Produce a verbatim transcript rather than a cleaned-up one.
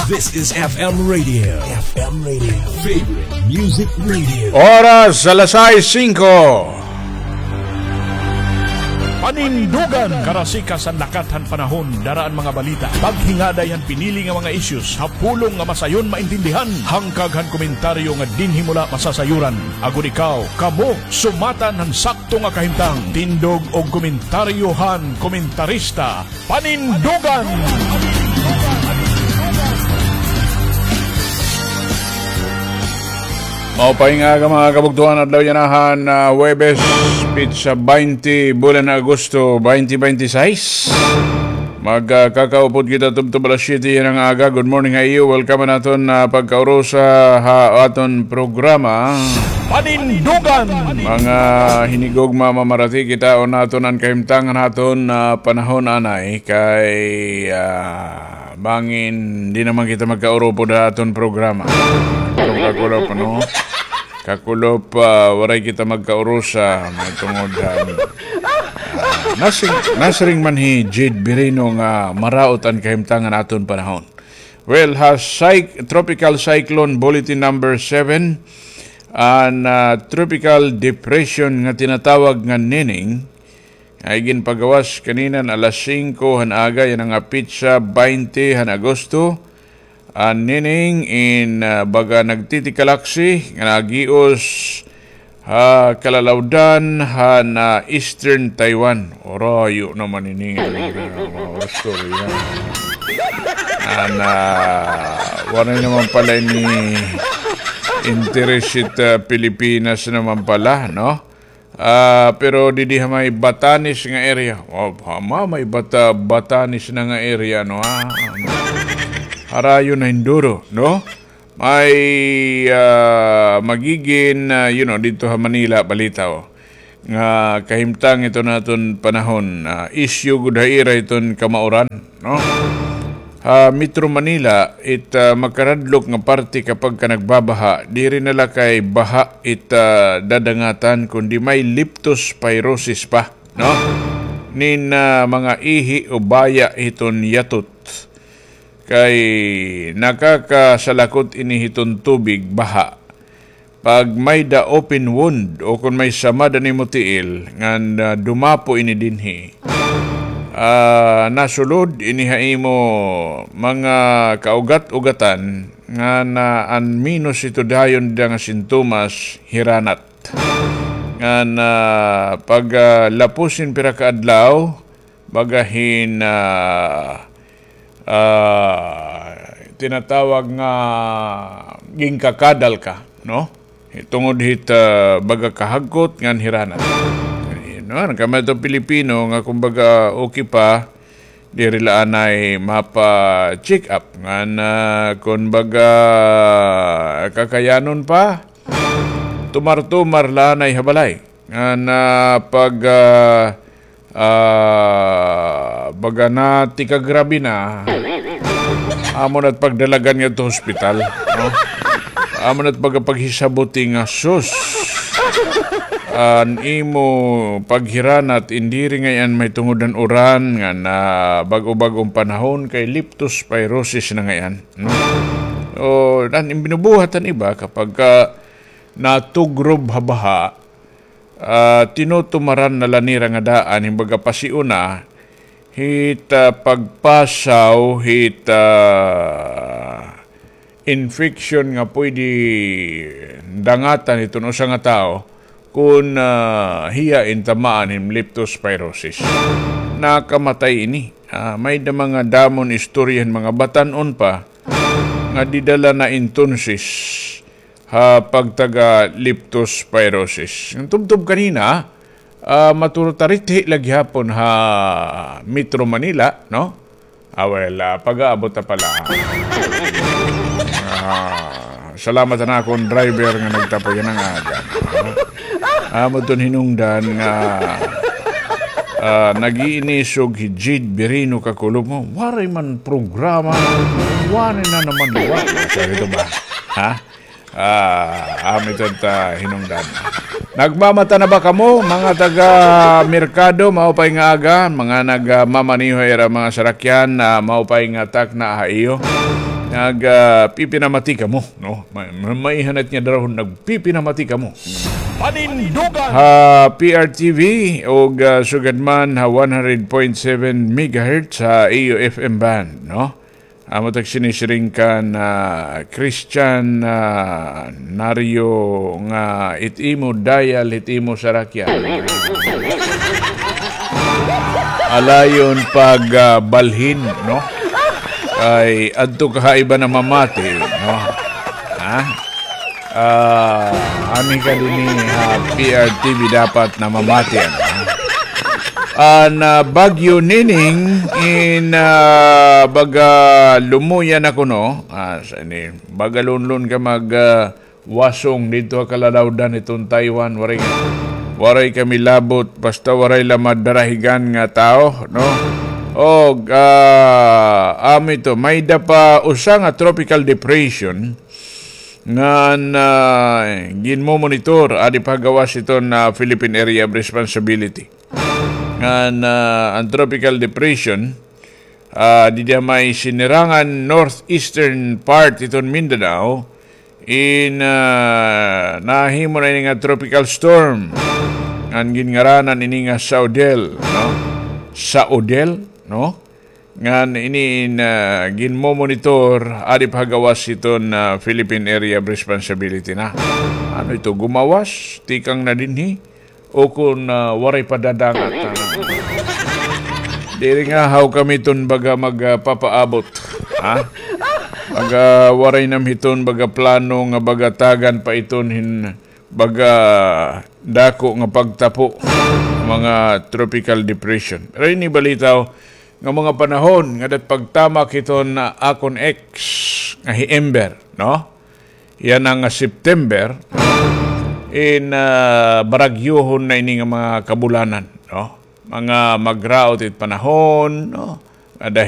This is F M Radio. F M Radio. Favorite Music Radio. Oras, alas sais singko. Panindugan. Karasikas han lakat han panahon, dara an mga balita. Paghingaday han pinili nga mga issues, ha pulong nga masayon maintindihan. Hangkag han komentaryo nga dinhi mo la masasayuran. Agod ikaw, kamo, sumatan han sakto nga kahimtang. Tindog og komentaryo han komentarista. Panindugan! Maupay nga aga, mga kabugtoan, adlaw yana han, ah, Huwebes, petsa baynte, bulan Agosto, baynte baynte sais. Mag, ah, kakaupod kita tubtob alas siyete yana nga aga. Good morning ha iyo. Welcome han aton, ah, pagkaurusa ha aton programa. Panindugan! Mga hinigugma, mamarati kita, o naton an kahimtangan ha aton, ah, panahon anay kay, ah, bangin di naman kita magkaurupod ha aton programa. Pero kakulop, ano? Kakulop, ah, waray kita magkaurusa, may tungod han, ah, nasing-, nasiring man hi Jade Birino nga maraot an kahimtangan aton panahon. Well, ha cyc-, Tropical Cyclone Bulletin Number Seven, an, ah, Tropical Depression nga tinatawag nga Nining, ay ginpagawas kanina han alas singko han aga, yana nga petsa baynte han Agosto, an Nining in, ah, baga nagtitikalaksi nga nagios ha kalalawdan han, ah, Eastern Taiwan. Orayo naman ini nga, ah, mga istorya. An, ah, waray naman pala ini interes it, ah, Pilipinas naman pala, no? Ah, pero didi ha may Batanes nga area. Oh, ha ma-, may Bata-, Batanes na nga area, no, ha? Harayo na hinduro, no? May, ah, magigin, ah, you know, didto ha Manila, balita, oh. Nga kahimtang ito naton panahon, ah, issue gud ha ira iton kamauran, no? Ha Metro Manila, it, ah, makaradlok nga parte kapag ka nagbabaha, diri na la kay baha it, ah, dadangatan, kundi may leptospirosis pa, no? Nin, ah, mga ihi o baya hiton yatot. Kay nakakasalakot ini hiton tubig, baha. Pag may-da open wound o kon may samad an imo tiil, ngan, ah, dumapo ini dinhi, ah, nasulod ini ha imo mga kaugat-ugatan, ngan, ah, an menos ito dayon dida nga sintomas, hiranat. Ngan, ah, pag, ah, lapos hin pira ka adlaw, baga hin, ah, ah, tinatawag nga ginkakadal ka, no? Tungod hit, ah, baga kahagkot ngan hiranat. No, an kami ato Pilipino nga kumbaga okay pa, diri la anay mapa-check up. Ngan, ah, kumbaga kakayanon pa, tumar-tumar la anay ha balay. Ngan, ah, pag, ah, ah, baga na tikagrabe na, amo na't pagdalagan ngadto hospital, no? Amo na't baga paghisabuti nga, sus, an imo paghiranat, in diri ngay-an may tungod han uran ngan bag-o-bag-ong panahon kay leptospirosis na ngay-an, no? O, an binubuhat han iba kapag ka natugrob ha baha, ah, tinutumaran na la nira nga daan, hin baga pasiuna, hit, ah, pagpasaw hit, ah, infection nga pwede dangatan hiton usa nga tawo kon, ah, hiya in tamaan hin leptospirosis. Nakamatay ini. Ah, may-da mga damon istorya hin mga batan-on pa nga dida la na entonces ha pagtaga leptospirosis. An tubtob kanina, ah, maturutarithi la gihapon ha Metro Manila, no? Ah, well, ah, pag-aabot na pala. Ah, salamat han akon driver nga nagtapo yana nga aga. Amo ton hinungdan nga, ah, nag-iinisog hi Jade Birino kakulop mo. Waray man programa. Waray na naman, wa. Sabi ito ba? Ha? Ah, amo ito ta hinungdan. Nagmamata na ba kamo, mga taga merkado? Maupay nga aga, mga nagmamaniho ira mga sarakyan, ah, maupay nga takna ha iyo. Nag, ah, pipinamati kamo, no? Ma-, ma-, maiha na it nga darahon, nagpipinamati kamo. Panindugan! Ha P R T V, ug, ah, sugad man ha one hundred point seven megahertz ha iyo F M band, no? Amo tak sinisiring kan, ah, Christian, ah, Nario nga it imo dial, it imo sarakyan. Alayon pag, ah, balhin, no? Kay adto ka ha iba namamati, no? Ha? Ah, ani ka dinhi ha P R T V dapat namamati, ano? An, ah, Bagyo Nining in, ah, baga lumuya na kuno. Ah, sa ini, baga lunlon ka mag, ah, wasong didto ha kaladawdan hiton Taiwan. Waray, waray kami labot, basta waray la madarahigan nga tawo, no? Og, ah, amo ito, may-ada pa usa nga tropical depression ngan, ah, ginmomonitor, adi pa ha gawas hiton, ah, Philippine Area of Responsibility. Ngan, ah, an tropical depression, ah, didi ha may sinirangan northeastern part hiton Mindanao, in, ah, nahimo na ini nga tropical storm. Ngan ginngaranan ini nga Saudel, no? Saudel, no? Ngan ini in, ah, ginmomonitor, adi pa ha gawas hiton, ah, Philippine Area of Responsibility na. Ano ito, gumawas, tikang na dinhi, o kon, ah, waray pa dadangat, ano? Diri nga, haw kami iton baga magpapaabot, ha? Baga waray nam hiton baga plano nga baga tagan pa iton hin baga dako nga pagtapo, mga tropical depression. Pero ini balitaw nga mga panahon nga dat pagtamak hiton, ah, akon ex nga hi Ember, no? Yana nga September, in, ah, baragyohon na ini nga mga kabulanan, no? Mga magraot it panahon, no? Ada